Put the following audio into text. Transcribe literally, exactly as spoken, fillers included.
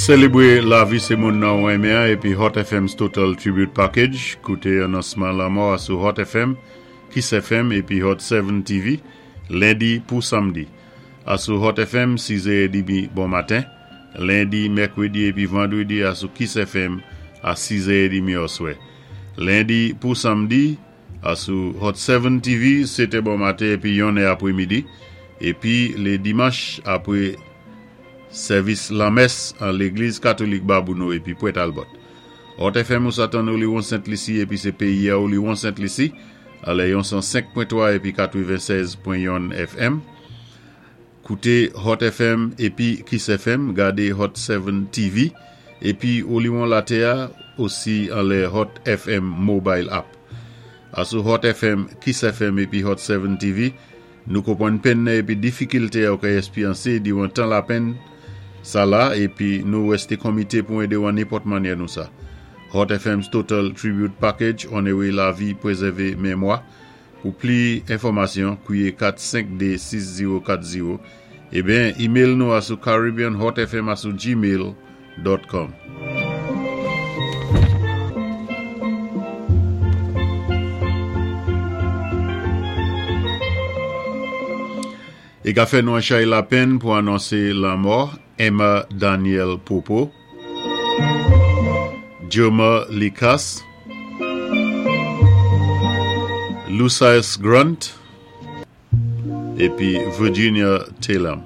Sélébwé lavi sé moun nan ou renmen épi Hot F M's Total Tribute Package. Kouté anonsman lanmò sou Hot F M, Kiss F M épi Hot sept T V, lendi pou samdi. Asou Hot F M, sis è trant bon maten. Lendi, mèkwédi épi vandwédi asou Kiss F M a sis è trant oswè. Lendi pou samdi, asou Hot sept T V, sèt è bon maten épi yon è apwé midi. Épi lé dimanch apwé sèvis lanmès an Légliz Katolik Babouno épi Pwent Albert. Hot F M ou sa tann Oliwon Sent Lisi épi sé péyi a Oliwon Sent Lisi alè yon san senk pwen twa épi katwennsèz pwen youn F M. Kouté Hot F M épi Kiss F M, gadé Hot sept T V épi Oliwon Latè osi anlè Hot F M Mobile App. Asou Hot F M, Kiss F M épi Hot sept T V, nou konpwann penn épi difikilté ou ka èspéryansé diwan tan lapenn sa la épi nou wèsté komité pou édé ou an nenpòt mannyè nou sa. Hot F M's Total Tribute Package, onoré lavi, pwézèvé mémwa. Pou pli enfòmasyon, kwiyé kat senk de sis zewo kat zewo. Ébyen, email nou asou caribbeanhotfm asou gmail pwen com. É ka fè nou an chay lapenn pou anonsé lanmò Emma Daniel Popo, Joma Likas, Lucius Grant, épi Virginia Taylor.